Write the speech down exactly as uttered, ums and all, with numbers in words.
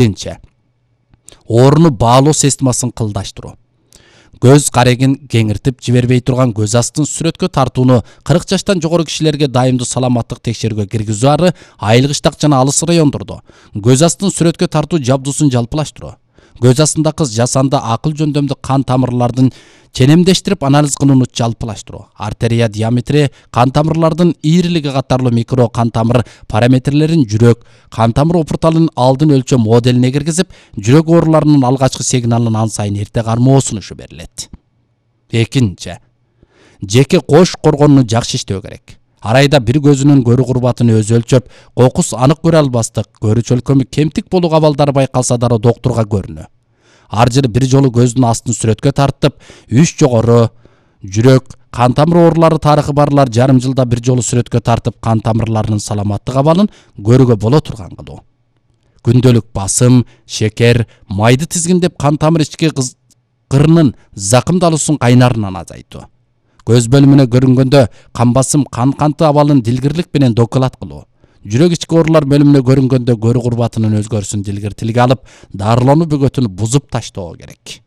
Биринчи, орunu баалоо системасын кылдаштыруу. Көз карегин кеңиртип жибербей турган көз астын сүрөткө тартууну кырк жаштан жогору кишилерге дайымдуу саламаттык текшерүүгө киргизүү ары айылгыштак жана алыс райондордо көз астын сүрөткө тартуу жабдуусун жалпылаштыруу. Көз астындагы жасанды акыл жөндөмдүү кан тамырлардын ченемдештирип анализ кылууну жалпылаштыруу. Артерия диаметри, кан тамырлардын ийрилиги катарлуу микро кан тамыр параметрлерин жүрөк кан тамыр опурталын алдын өлчөө моделине киргизип, жүрөк ооруларынын алгачкы сигналын ан сайын эрте кармоо сунушу берилет. Экинчи, жеке кош коргонуу жакшы иштөө керек. Ар айда бир көзүнүн көрүү курбатын өзү өлчөп, кокус анык көрө албастык, көрүү чөлкөмү кемтик болуу абалдары байкалса дароо доктурга көрүнүү. Ар жылы бир жолу көздүн астын сүрөткө тартып, үч жогору, жүрөк, кан тамыр оорулары тарыхы барлар жарым жылда бир жолу сүрөткө тартып, кан тамырларынын саламаттык абалын көрүүгө боло турган кылуу. Күндөлүк басым, шекер, майды тизгиндеп кан тамыр ички кырынын закымдалуусун кайнарынан азайтуу. Көз бөлүмүнө көрүнгөндө кан басым, кан канты абалын дилгирлик менен доклад кылуу. Жүрөк ички оорулар бөлүмүнө көрүнгөндө көрүү курбатынын өзгөрүшүн дилгир тилге алып, дарылануу бөгөтүн бузуп таштоо керек.